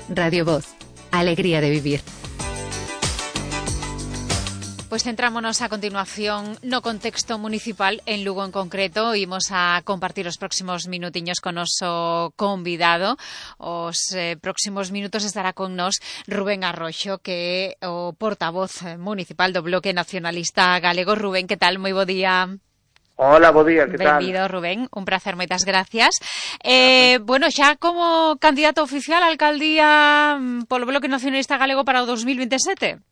Radio Voz, alegría de vivir. Pois centrámonos a continuación no contexto municipal en Lugo en concreto. Imos a compartir os próximos minutiños con noso convidado. Os próximos minutos estará con nós Rubén Arroxo, que é o portavoz municipal do Bloque Nacionalista Galego. Rubén, que tal? Moi bo día. Hola, bo día, que tal? Benvido, Rubén, un placer, moitas gracias. Bueno, xa como candidato oficial á alcaldía polo Bloque Nacionalista Galego para o 2027?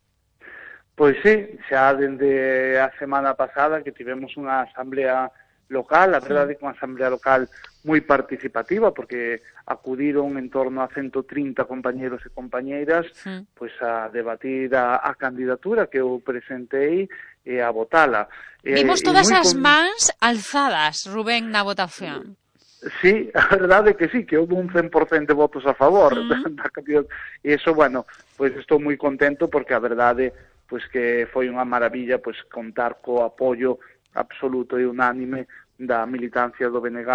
Pois sí, xa dende a semana pasada que tivemos unha asamblea local, a verdade é que unha asamblea local moi participativa, porque acudiron en torno a 130 compañeros e compañeiras pois a debatir a candidatura que eu presentei e a votala. Vimos todas as mans alzadas, Rubén, na votación. Sí, a verdade é que sí, que houve un 100% de votos a favor da candidatura. E iso, bueno, pois estou moi contento porque a verdade pois que foi unha maravilla pois contar co apoio absoluto e unánime da militancia do BNG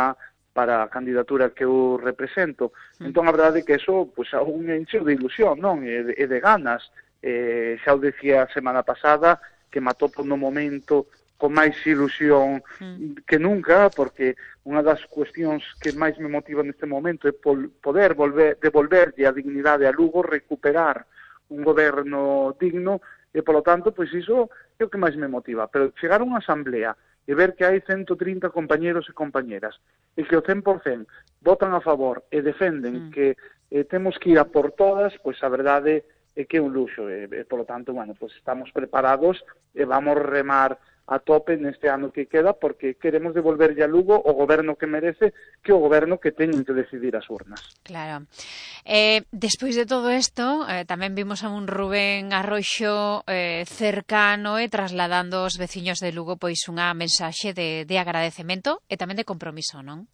para a candidatura que eu represento. Entón, a verdade é que eso pois aún encheu de ilusión, non? E de ganas. Xa o decía a semana pasada que me atopo no momento con máis ilusión que nunca, porque unha das cuestións que máis me motiva neste momento é poder devolverlle a dignidade a Lugo, recuperar un goberno digno. E, polo tanto, pois iso é o que máis me motiva. Pero chegar a unha asamblea e ver que hai 130 compañeros e compañeras e que o 100% votan a favor e defenden que temos que ir a por todas, pois a verdade é que é un luxo. E, polo tanto, bueno, pois estamos preparados e vamos remar a tope neste ano que queda, porque queremos devolverlle a Lugo o goberno que merece, que o goberno que teñen que decidir as urnas. Claro. Despois de todo isto, tamén vimos a un Rubén Arroxo cercano e trasladando aos veciños de Lugo pois unha mensaxe de agradecemento e tamén de compromiso, non?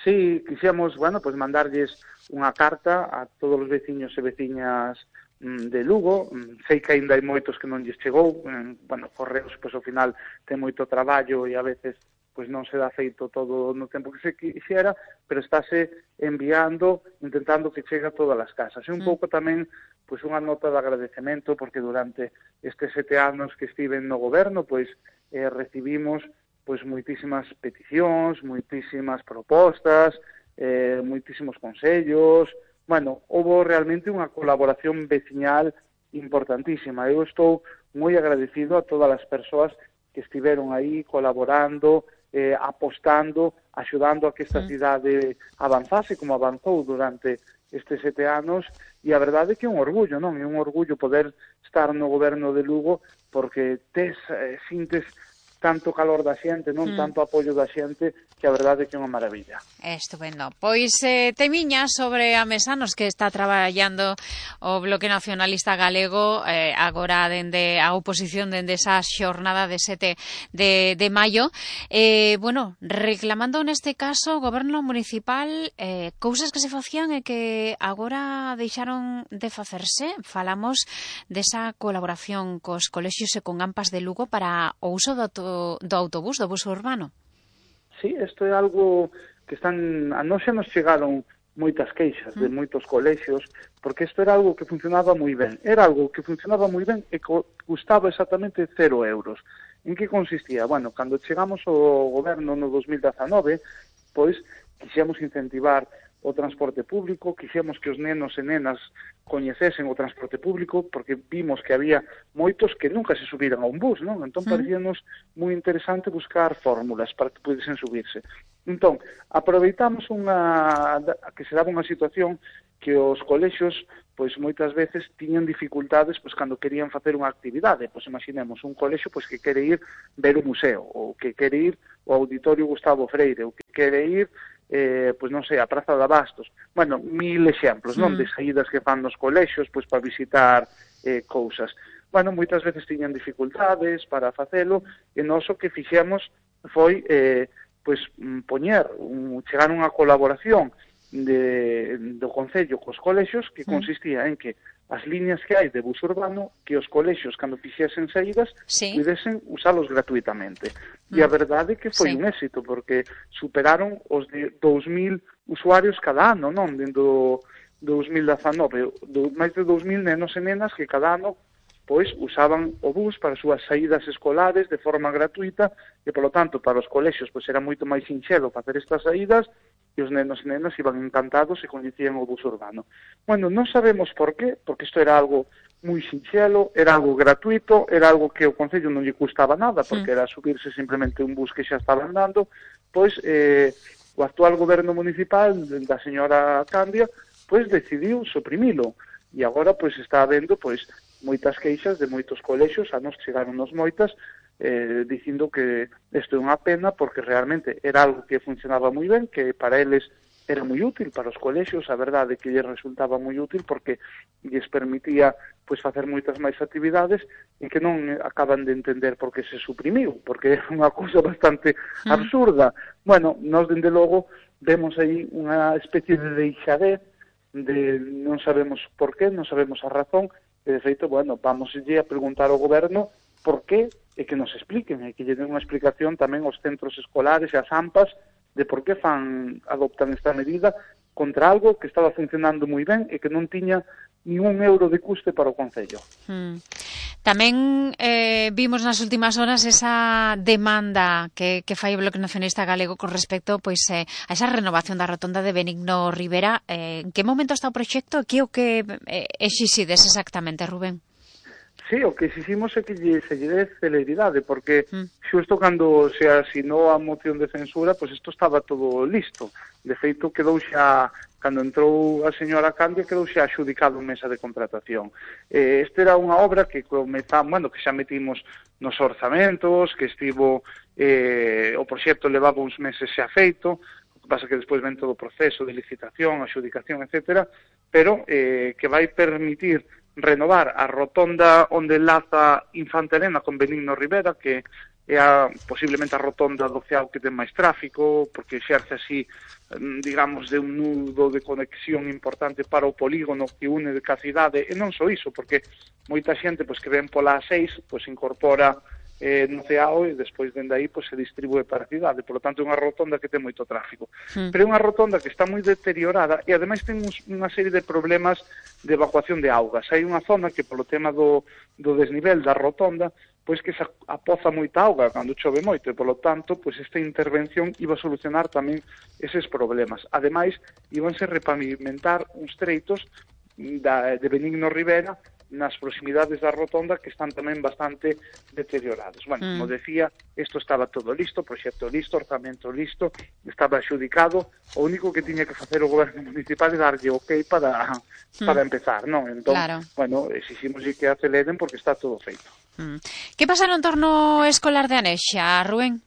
Sí, quixemos, bueno, pois mandarlles unha carta a todos os veciños e veciñas de Lugo. Sei que aínda hai moitos que non lles chegou, bueno, Correos, pois ao final ten moito traballo e a veces pois non se dá feito todo no tempo que se quixera, pero estáse enviando, intentando que chegue a todas as casas. E un pouco tamén pois unha nota de agradecemento, porque durante estes 7 anos que estiven no goberno, pois recibimos pois moitísimas peticións, moitísimas propostas, moitísimos consellos. Bueno, houve realmente unha colaboración veciñal importantísima. Eu estou moi agradecido a todas as persoas que estiveron aí colaborando, apostando, axudando a que esta cidade avanzase como avanzou durante estes 7 anos, e a verdade é que é un orgullo, non? É un orgullo poder estar no goberno de Lugo, porque sintes tanto calor da xente, non tanto apoio da xente, que a verdade é que é unha maravilla. Estupendo. Pois temiña sobre a mesa nos que está traballando o Bloque Nacionalista Galego agora dende a oposición dende esa xornada de 7 de maio. Bueno, reclamando neste caso o goberno municipal cousas que se facían e que agora deixaron de facerse. Falamos desa colaboración cos colexios e con AMPAs de Lugo para o uso do autobús, do bus urbano. Sí, isto é algo que a nós xa nos chegaron moitas queixas de moitos colexios, porque isto era algo que funcionaba moi ben. Era algo que funcionaba moi ben e custaba exactamente 0 euros. En que consistía? Bueno, cando chegamos ao goberno no 2019, pois quixemos incentivar o transporte público, quixemos que os nenos e nenas coñecesen o transporte público, porque vimos que había moitos que nunca se subiran a un bus, non? Entón, parecíanos moi interesante buscar fórmulas para que pudesen subirse. Entón, aproveitamos que se daba unha situación que os colexios, pois moitas veces tiñan dificultades pois cando querían facer unha actividade. Pois imaginemos un colexio pois que quere ir ver o museo, ou que quere ir ao Auditorio Gustavo Freire, ou que quere ir pois non sei, a Praza de Abastos. Bueno, 1000 exemplos, non, de saídas que fan nos colexios pois para visitar cousas. Bueno, moitas veces tiñan dificultades para facelo, e nós o que fixemos foi pois chegar a unha colaboración do Concello cos colexios que consistía en que as líneas que hai de bus urbano, que os colexios, cando fixesen saídas, pudesen usalos gratuitamente. E a verdade é que foi un éxito, porque superaron os de 2000 usuarios cada ano, non? Dentro 2019, máis de 2.000 nenos e nenas que cada ano pois usaban o bus para as súas saídas escolares de forma gratuita e, polo tanto, para os colexios pois era moito máis sinxelo facer estas saídas e os nenos e nenas iban encantados e coñecían o bus urbano. Bueno, non sabemos por qué, porque isto era algo moi sinxelo, era algo gratuito, era algo que o Concello non lle custaba nada, porque era subirse simplemente un bus que xa estaba andando, pois o actual goberno municipal da señora Candia pois decidiu suprimilo e agora pois está habendo pois moitas queixas de moitos colexios, a nos chegaronnos moitas, dicindo que isto é unha pena porque realmente era algo que funcionaba moi ben, que para eles era moi útil, para os colexios, a verdade que lles resultaba moi útil porque lles permitía pois facer moitas máis actividades e que non acaban de entender por que se suprimiu, porque é unha cousa bastante absurda. Bueno, nós dende logo vemos aí unha especie de deixadez, de non sabemos por qué, non sabemos a razón, e de feito, bueno, vamos a preguntar ao goberno por qué e que nos expliquen, e que lle den unha explicación tamén aos centros escolares e ás AMPAs de por que adoptan esta medida contra algo que estaba funcionando moi ben e que non tiña ni un euro de custe para o Concello. Tamén vimos nas últimas horas esa demanda que fai o Bloque Nacionalista Galego con respecto pois a esa renovación da rotonda de Benigno Rivera. En que momento está o proxecto e que o que exixides exactamente, Rubén? Sí, o que exiximos é que se lle dé celeridade, porque xusto cando se asinou a moción de censura, pois isto estaba todo listo. De feito, quedou xa, cando entrou a señora Candia, quedou xa axudicado en mesa de contratación. Esta era unha obra que que xa metimos nos orzamentos, que estivo, o proxecto levaba uns meses xa feito, o que pasa que despois ven todo o proceso de licitación, axudicación, etcétera, pero que vai permitir renovar a rotonda onde enlaza Infante Elena con Benigno Rivera, que é posiblemente a rotonda do Ceao que ten máis tráfico, porque exerce así, digamos, de un nudo de conexión importante para o polígono que une de ca cidade, e non só iso, porque moita xente pois, que ven pola A6 pois, incorpora no Ceao e despois dende aí pois, se distribúe para a cidade. Por lo tanto, é unha rotonda que ten moito tráfico. Pero é unha rotonda que está moi deteriorada e ademais ten unha serie de problemas de evacuación de augas. Hai unha zona que polo tema do desnivel da rotonda pois que se apoza moita auga cando chove moito e polo tanto pois esta intervención iba a solucionar tamén eses problemas. Ademais, íbanse repavimentar uns treitos de Benigno Rivera nas proximidades da rotonda que están tamén bastante deteriorados. Bueno, como decía, isto estaba todo listo, proxecto listo, orzamento listo, estaba axudicado, o único que tiña que facer o goberno municipal é darlle ok para empezar, non? Entón, claro. Bueno, exiximos que aceleren porque está todo feito. Que pasa no entorno escolar de Anexa, Rubén?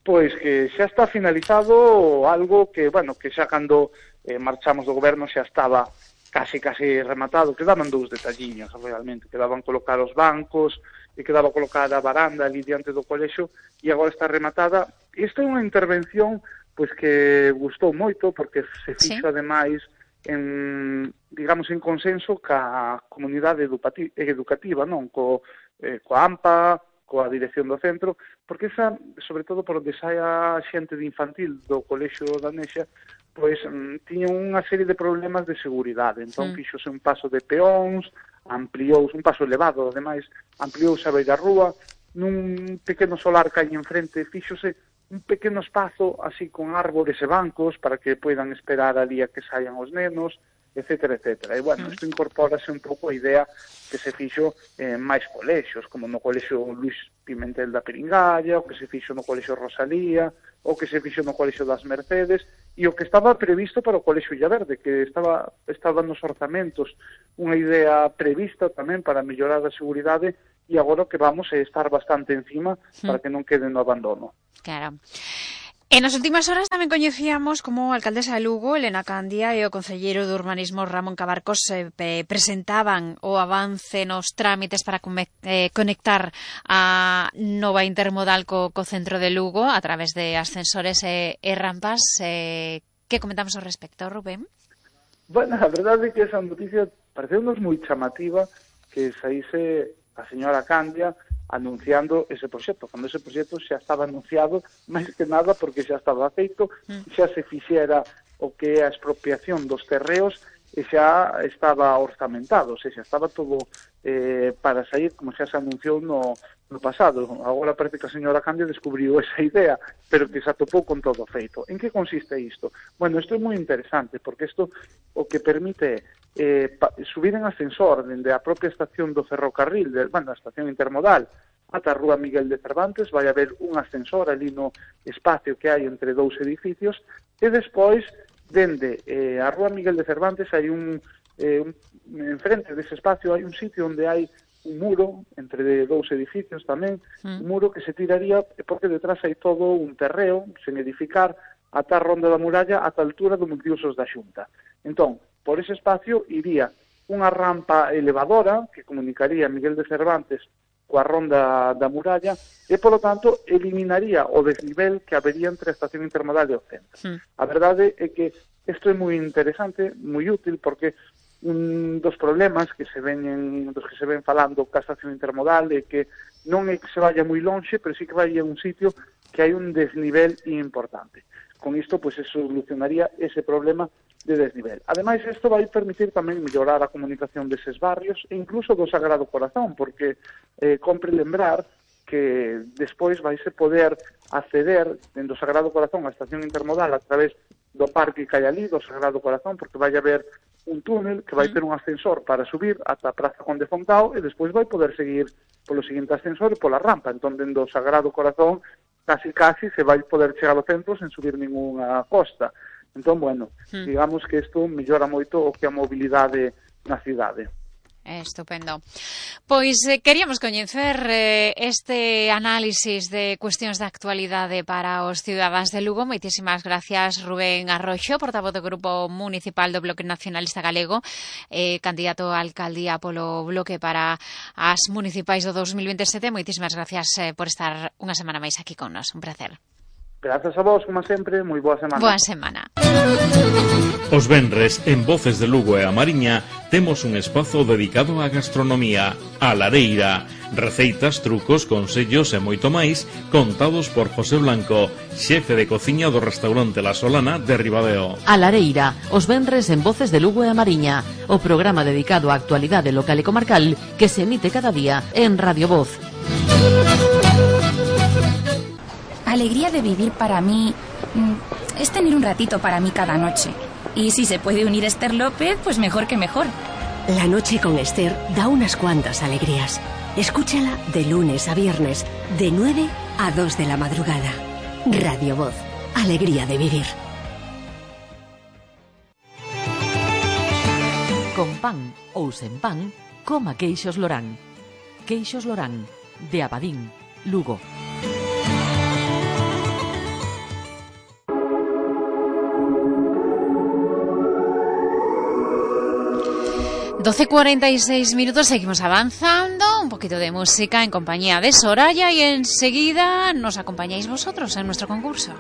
Pois que xa está finalizado algo que, bueno, que xa cando marchamos do goberno xa estaba casi rematado, quedaban dous detalliños realmente, quedaban colocar os bancos e quedaba colocar a varanda ali diante do colexio e agora está rematada. Esta é unha intervención pois que gustou moito porque se fixo ademais en, digamos, en consenso ca comunidade educativa, non? Coa AMPA, coa dirección do centro, porque esa, sobre todo por onde sai a xente de infantil do colexio da Anexa, pois tiña unha serie de problemas de seguridade. Entón, fixose un paso de peóns, ampliouse, un paso elevado, ademais, ampliouse a beira rúa, nun pequeno solar que hai enfrente, fixose un pequeno espazo, así, con árbores e bancos, para que poidan esperar ali a que saian os nenos, etcétera, etcétera. E, bueno, isto incorpórase un pouco a idea que se fixo en máis colexios, como no colexio Luis Pimentel da Peringalla, o que se fixo no colexio Rosalía, o que se fixo no colexio das Mercedes, e o que estaba previsto para o colexio Illaverde, que estaba nos orzamentos unha idea prevista tamén para mellorar a seguridade, e agora que vamos a estar bastante encima para que non quede no abandono. Claro. E nas últimas horas tamén coñecíamos como a alcaldesa de Lugo, Elena Candia, e o concelleiro de Urbanismo, Ramón Cabarcos, presentaban o avance nos trámites para conectar a nova intermodal co centro de Lugo a través de ascensores e rampas. Que comentamos ao respecto, Rubén? Bueno, a verdade é que esa noticia pareceu-nos moi chamativa que saíse a señora Candia anunciando ese proxecto, cando ese proxecto xa estaba anunciado, máis que nada porque xa estaba feito, xa se fixera o que é a expropiación dos terreos e xa estaba orzamentado, ou seja, estaba todo para sair, como xa se anunciou no pasado. Agora parece que a señora Candia descubriu esa idea, pero que se atopou con todo feito. En que consiste isto? Bueno, isto é moi interesante, porque isto o que permite subir en ascensor dende a propia estación do ferrocarril, a estación intermodal, ata a Rúa Miguel de Cervantes, vai haber un ascensor ali no espacio que hai entre dous edificios, e despois, dende a Rúa Miguel de Cervantes, hai enfrente dese espacio hai un sitio onde hai un muro entre dous edificios tamén, un muro que se tiraría porque detrás hai todo un terreo sen edificar ata a ronda da muralla ata a altura do multiusos da Xunta. Entón, por ese espacio iría unha rampa elevadora que comunicaría Miguel de Cervantes coa ronda da muralla e, polo tanto, eliminaría o desnivel que habería entre a estación intermodal e o centro. A verdade é que isto é moi interesante, moi útil, porque un dos problemas que se ven falando ca estación intermodal é que non é que se vaya moi lonxe, pero sí que vai a un sitio que hai un desnivel importante. Con isto, pois, se solucionaría ese problema de desnivel. Ademais, isto vai permitir tamén mellorar a comunicación deses barrios e incluso do Sagrado Corazón, porque compre lembrar que despois vaise poder acceder dentro do Sagrado Corazón á estación intermodal a través do parque que hai ali, do Sagrado Corazón, porque vai haber un túnel que vai ter un ascensor para subir ata a Praza Conde Fontao e despois vai poder seguir polo seguinte ascensor e pola rampa. Entón, dentro do Sagrado Corazón, casi se vai poder chegar ao centro sen subir ningunha costa. Entón, bueno, digamos que isto mellora moito o que a mobilidade na cidade. Estupendo. Pois queríamos coñecer este análisis de cuestións de actualidade para os cidadáns de Lugo. Moitísimas gracias, Rubén Arroxo, portavoz do Grupo Municipal do Bloque Nacionalista Galego, candidato a alcaldía polo Bloque para as municipais do 2027. Moitísimas gracias por estar unha semana máis aquí con nos. Un placer. Grazas a vos, como sempre, moi boa semana. Boa semana. Os venres, en Voces de Lugo e a Mariña, temos un espazo dedicado á gastronomía, a lareira, receitas, trucos, consellos e moito máis, contados por José Blanco, xefe de cociña do restaurante La Solana de Ribadeo. A lareira, os venres en Voces de Lugo e a Mariña, o programa dedicado á actualidade local e comarcal que se emite cada día en Radio Voz. Alegría de vivir para mí es tener un ratito para mí cada noche. Y si se puede unir Esther López, pues mejor que mejor. La noche con Esther da unas cuantas alegrías. Escúchala de lunes a viernes, de 9 a 2 de la madrugada. Radio Voz, alegría de vivir. Con pan ou sen pan, coma queixos Lorán. Queixos Lorán, de Abadín, Lugo. 12:46 minutos, seguimos avanzando, un poquito de música en compañía de Soraya y enseguida nos acompañáis vosotros en nuestro concurso.